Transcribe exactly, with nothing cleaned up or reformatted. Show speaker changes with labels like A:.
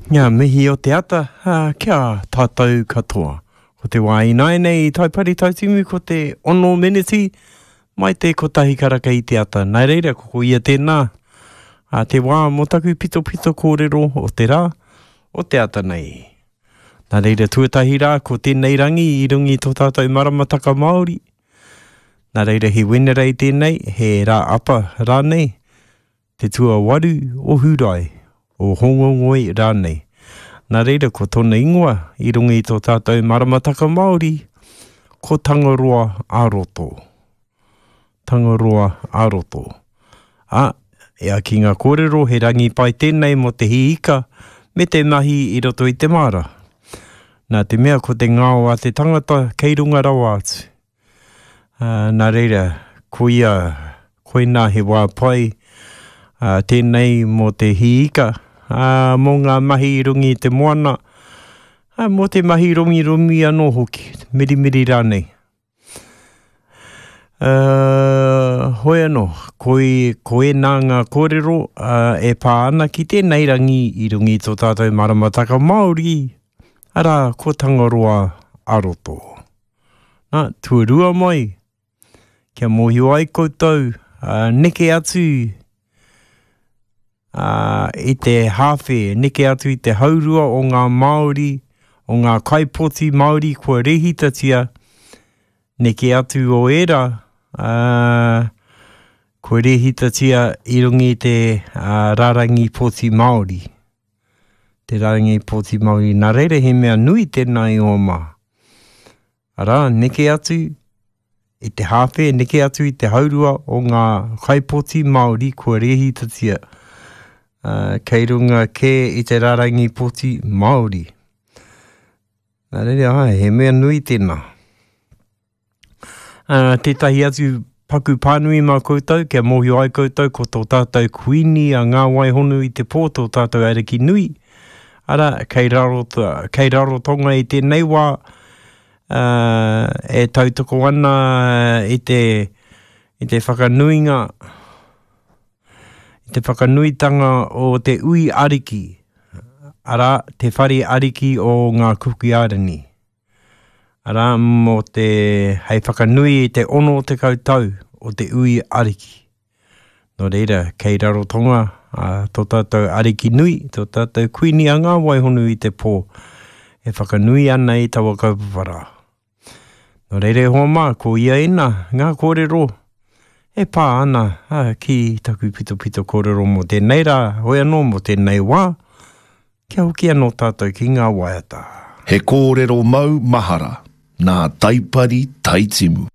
A: Ngā mihi o te ata ki a tātou katoa. Ko te wā ināianei i Taipari Taitimu ko te ono meneti mai te kotahi karaka i te ata. Nā reira, ko ko ia tēnā a te wā mō taku pitopito kōrero o te rā, o te ata nei. Nā reira, tuatahi rā, ko tēnei rangi i runga i tō tātou maramataka Māori. Nā reira, he Wenerei tēnei, he rā apa rānei, te tuawaru o Hūrae, o Hōngongoi rānei. Nā reira, ko tōna ingoa i runga i tō tātou maramataka Māori, ko Tangaroa ā-roto. Tangaroa ā-roto. Ā, e ai ki ngā kōrero, he rangi pai tēnei mō te hī ika me te mahi i roto i te māra. Nā te mea ko te ngao a te tangata kei runga rawa atu. Ā, nā reira, koia, koinā he wā pai ā, tēnei mō te hī ika, ā, mō ngā mahi i runga i te moana, ā, mō te mahi romiromi anō hoki, mirimiri rānei. Ā, hoi anō, koi, ko ēnā ngā kōrero ā, e pā ana ki tēnei rangi i runga i tō tātou maramataka Māori, arā, ko Tangaroa ā-roto. Nā, tuarua mai, kia mōhio ai koutou, ā, neke atu ā, i te hāwhe, neke atu i te haurua o ngā Māori, o ngā kaipoti Māori kua rehitatia, neke atu o ērā, ā, kua rehitatia i runga i te ā, rārangi poti Māori. Te rārangi poti Māori. Nā reira he mea nui tēnā i ō mā. Arā, neke atu i te hāwhe, neke atu i te haurua o ngā kaipoti Māori kua rēhitatia, uh, kei runga kē i te rārangi poti Māori. Nā reira, ai, he mea nui tēnā. Uh, tētahi atu paku pānui mā koutou, kia mōhio ai koutou ko tō tātou kuini a Ngā Waihonu i te pō, tō tātou ariki nui. Arā, kei raro, kei Rarotonga i tēnei wā, uh, e tautoko ana i te, i te whakanuinga, i te whakanuitanga o te ui ariki, arā, te whare ariki o ngā Kuki Airani. Arā, mō te, hei whakanui i te ono tekau tau o te ui ariki. Nō reira, kei Rarotonga ā, tō tātou ariki nui, tō tātou kuini a Ngā Waihonu i te pō, e whakanui ana i taua kaupapa rā. Nō reira e hoa mā, ko ia ēnā ngā kōrero e pā ana ā, ki taku pitopito kōrero mō tēnei rā, hoi anō mō tēnei wā, kia hoki anō tātou ki ngā waiata.
B: He kōrero mau mahara nā Taipari Taitimu.